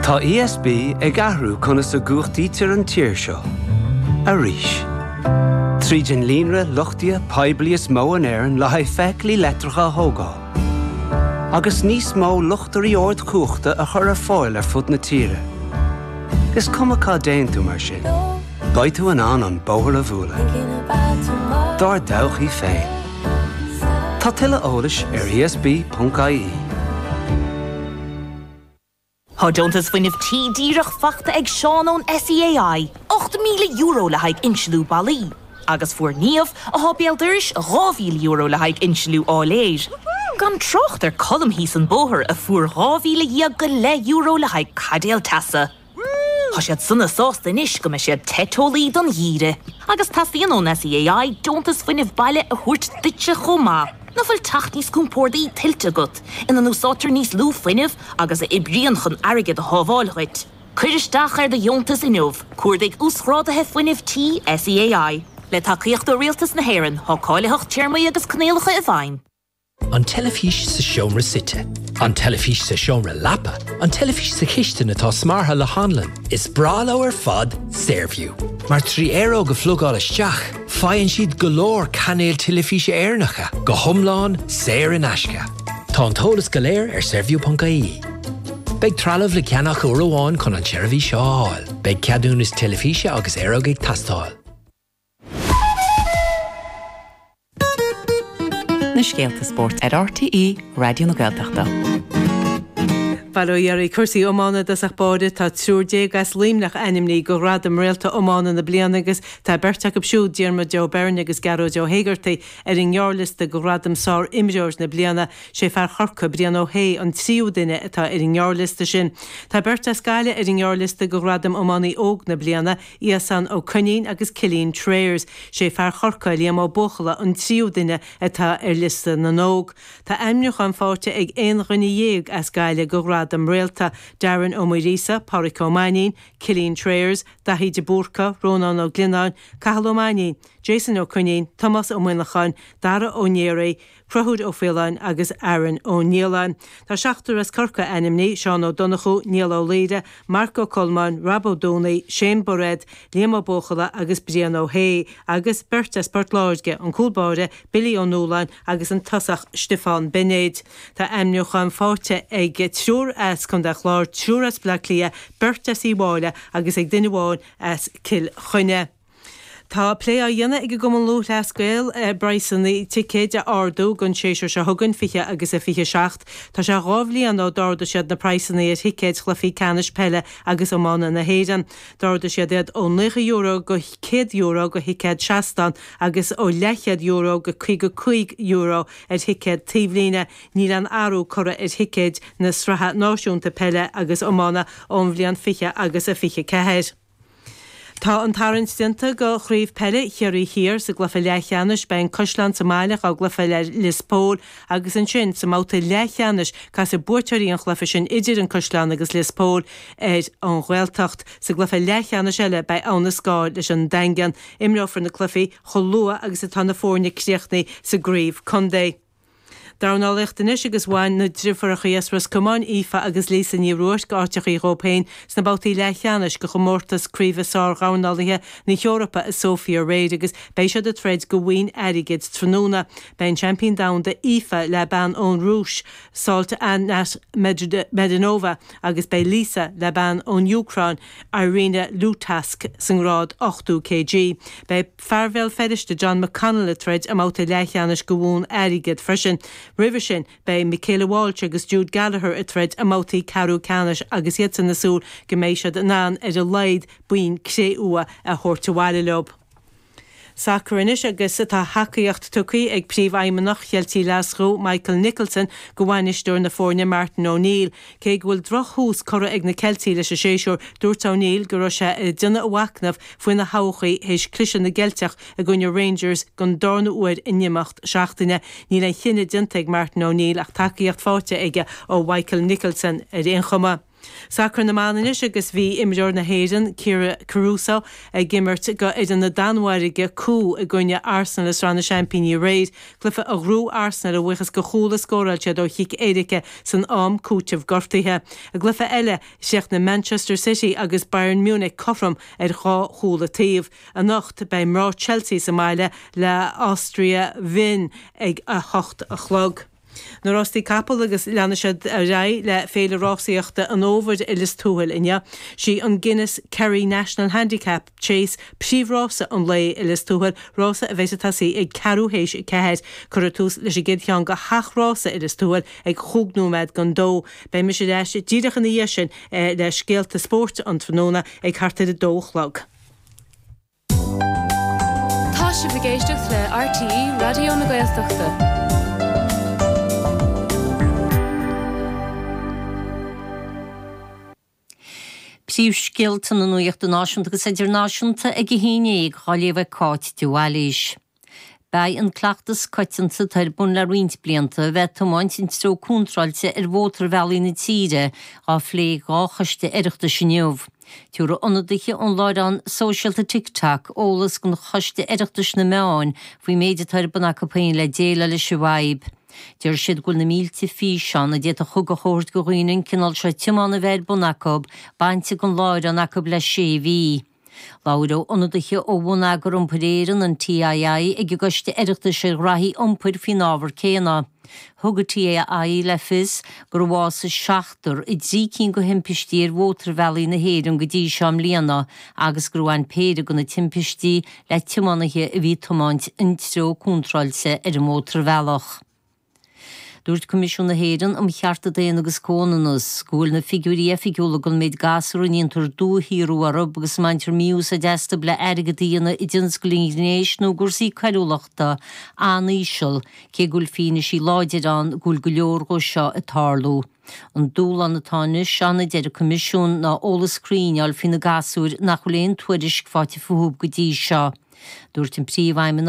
Tá ESB ag athrú conas a gcumhachtaítear an tír seo. Arís. Tríd an líonra luchtaithe poiblí is mó in Éirinn le haghaidh feithiclí leictreacha a thógáil. Agus níos mó luchtairí ardchumhachta a chur ar fáil ar fud na tíre. Is cuma cá dtéann tú mar sin, beidh tú in ann an bóthar a bhualadh. Dár dtodhchaí féin. Tá tuilleadh eolais ar esb.ie. Tá deontas fuinnimh tí díreach fachta ag Seán ón SEAI, €8,000 le haghaidh insliú ballaí, agus fuair Niamh, athá béal dorais, €2,000 le haghaidh insliú áiléir. Gan trácht ar Colm thíos an bóthar a fuair €12,000 go leith le haghaidh caidéal teasa. Tá siad sona sásta anois go mbeidh siad te teolaí don gheimhreadh. Agus teastaíonn ón SEAI deontas fuinnimh baile a thabhairt duitse chomh maith. Nach bhfuil teach níos compórdaí tuillte agat, ina n-úsáidtear níos lú fuinnimh agus a oibríonn chun airgead a shábháil dhuit? Cuir isteach ar do dheontas inniu, cuardaigh Uasghráduithe Fuinnimh Tí SEAI. Le tacaíocht ó Rialtas na hÉireann, tá cáilitheacht, téarmaí agus coinníollacha i bhfeidhm. An teilifís sa seomra suite. An teilifís sa seomra leapa. An teilifís sa chistin atá smeartha le hanlann. Is breá leo ar fad Saorview. Mar 3 aeróg a phlugáil isteach, faigheann siad go leor cainéil teilifíse Éireannacha, go hiomlán saor in aisce. Tá an t-eolas go léir ar saorview.ie. Beidh trealamh le ceannach uair amháin chun an tseirbhís seo a fháil. Beidh ceadúnas teilifíse agus aeróg ag teastáil. Na scéalta spóirt ar RTÉ Raidió na Gaeltachta. Bail ó Dhia oraibh. Cúrsaí iomána i dtosach báire. Tá triúr déag as Luimneach ainmnithe do ghradam Réalta Iomána na Bliana agus tá beirt acu siúd, Diarmuid Ó Beirn agus Gearóid Ó hÉigeartaigh, ar an ngearrliosta do ghradam Sár-Imreoir na Bliana. Sé fear Chorcaí, Brian Ó hAodha, an tríú duine atá ar an ngearrliosta sin. Tá beirt as Gaillimh ar an ngearrliosta do ghradam Iománaí Óg na Bliana, Iasán Ó Coinín agus Cillian Trayers. Sé fear Chorcaí, Liam Ó Buachalla, an tríú duine atá ar liosta na n-óg. Tá ainmniúchán faighte ag aon dhuine dhéag as Gaillimh do ghradam Réalta, Darren Ó Muiríosa, Páraic Ó Mainnín, Cillian Trayers, Daithí de Búrca, Rónán Ó Glionnáin, Cathal Ó Mainnín, Jason Ó Coinín, Tomás Ó Muineacháin, Dara Ó Néaraí, Conchúr Ó Faoláin agus Aaron Ó Nialláin. Tá seachtar as Corcaigh ainmnithe, Seán Ó Donnchú, Niall Ó Laoire, Marc Ó Colmáin, Rob Ó Dúnaí, Shane Bairéad, Liam Ó Buachalla agus Brian Ó hAodha, agus beirt as Port Láirge, an cúl báire Billy Ó Nualláin agus an tosach Stiofán Beinéid. Tá ainmniúcháin faighte ag triúr as Contae an Chláir, triúr as Baile Átha Cliath, beirt as Uíbh Fhailí agus ag duine amháin as Cill Chainnigh. Tá plé á dhéanamh ag an gCumann Lúthchleas Gael ar praghsanna ticéid a ardú don séasúr seo chugainn, 20 agus a 27. Tá sé 2 bhliain ó d'ardaigh siad na praghsanna ar thicéid chluichí ceannais peile agus iomána na hÉireann. D'ardaigh siad iad ó €90 go €100 do thicéad seastán agus ó leathchéad euro go €55 ar thicéad taobhlíne. Níl aon athrú curtha ar thicéid na Sraithe Náisiúnta Peile agus Iomána ón bhliain 20 agus a 24. Tá an tarraingt déanta do Chraobh Peile Chiarraí Thiar. Sa gcluiche leathcheannais beidh an Caisleán sa mbaile dhá gcluiche le Lios Póil agus ansin sa mbabhta leathcheannais casfaidh buaiteoirí an chluiche sin idir an Caisleán agus Lios Póil ar an Ghaeltacht. Sa gcluiche leathcheannais eile beidh Abha na Scáil leis an Daingean. Imreofar na cluichí chomh luath agus atá na foirne críochnaithe sa gcraobh contae. Dornálaíocht anois agus bhain na driofúrachaí as Ros Comáin, Aoife agus Lisa Ní Ruairc, áiteachaí dhóib féin sna babhtaí leathcheannais de chomórtas craoibhe sár-dhornálaithe na hEorpa i Sofia aréir agus beidh siad ag troid do bhoinn airgid tráthnóna. Beidh an seaimpín domhanda Aoife le bean ón Rúis, Saltanat Medinova agus beidh Lisa le bean ón Úcráin, Irina Lutask sa ngrád 80 kg. Beidh. Fear Bhéal Feirste John McConnell ag troid i mbabhta leathcheannais do bhonn airgid freisin. Roimhe sin, beidh Michaela Walsh agus Jude Gallagher ag troid i mbabhtaí ceathrú ceannais agus iadsan ag súil go mbeidh siad in ann ar a laghad boinn cré-umha a thabhairt abhaile leo. Sacar anois agus tá tacaíocht tugtha ag Príomhfheidhmeannach Cheiltigh Ghlaschú, Michael Nicholson, do bhainisteoir na foirne Martin O'Neill. Cé go bhfuil drochthús curtha ag na Ceiltigh leis an séasúr, dúirt O'Neill go raibh sé ag déanamh a mhachnaimh faoina thodhchaí théis cliseadh na gCeilteach i gcoinne Rangers don darna huair in imeacht seachtaine. Níl aon chinneadh déanta ag Martin O'Neill ach tacaíocht faighte aige ó Mhichael Nicholson ar aon chuma. Sacar na mban anois agus bhí imreoir na hÉireann, Kyra Caruso, ag imirt go fhoireann na Danmhairge, Cú, i gcoinne Arsenal i Sraith na Seaimpíní aréir, cluiche a ghnóthaigh Arsenal a bhuíochas go chúl a scóráil siad ó chic éirice san am cúitimh gortaithe. I gcluiche eile, chríochnaigh Manchester City agus Bayern Munich cothrom ar dhá chúl an taobh. Anocht, beidh mná Chelsea sa mbaile le Austria Wien ag 8 a chlog. Na rástaí capall agus leanfaidh siad ar aghaidh le Féile Rásaíochta an Fhómhair i Lios Tuathail inniu. Sí an Guinness Kerry National Handicap Chase príomhrása an lae i Lios Tuathail, rása a bheidh ag tosaí ag ceathrú théis a ceathair. Cuirfear tús leis an gcéad cheann de sheacht rása i Lios Tuathail ag chúig nóiméad don dó. Beidh mise ar ais díreach ina dhiaidh sin le scéalta spóirt an tráthnóna ag thart ar a dó a chlog. Tá sibh ag éisteacht le RTÉ Raidió na Gaeltachta. Príomhscéalta na nuachta náisiúnta agus idirnáisiúnta ag a 11 á léamh ag Cáit de Bhailís. Beidh an cleachtas coitianta atá ar bun le roinnt blianta, a bheith ag tiomáint an treo contráilte ar mhótarbhealaí na tíre, á phlé ag 2 choiste Oireachtais inniu. Tabharfaidh ionadaithe ón láithreán sóisialta TikTok eolas don Choiste Oireachtais na Meáin faoin méid atá ar bun acu féin le déileáil leis an bhfadhb. Deir siad go bhfuil na mílte físeán, a d'fhéadfadh ugach a thabhairt do dhaoine an cineál seo tiomána a bheith ar bun acu, bainte den láithreán acu le sé mhí. Labhróidh ionadaithe ó Bhonneagar Iompair Éireann, an TII, ag an gCoiste Oireachtais ar Ghraithí Iompair faoin ábhar céanna. Thug an TII le fios gur bhásaigh seachtar i dtrí cinn de thimpistí ar mhótarbhealaí na hÉireann go dtí seo i mbliana agus gur bhain péire de na timpistí le tiománaithe a bhí ag tiomáint an treo contráilte ar an mótarbhealach. Dúirt Coimisiún na hÉireann um Chearta Daonna agus Comhionannas go bhfuil na figiúirí oifigiúla don méid gasúr a ndéantar dúshaothrú orthu agus a mbaintear mí-úsáid astu le airgead a dhéanamh i dtionscal an ghnéis nó i gcúrsaí coiriúlachta an-íseal, cé go bhfuil fianaisí láidir ann go bhfuil go leor dhó seo ag tarlú. An dúshlán atá anois ann, a deir an Coimisiún, ná eolas cruinn a fháil faoi na gasúir nach bhfuil aon tuairisc faighte fúthu go dtí seo. Dúirt an Príomhfheidhmeannach.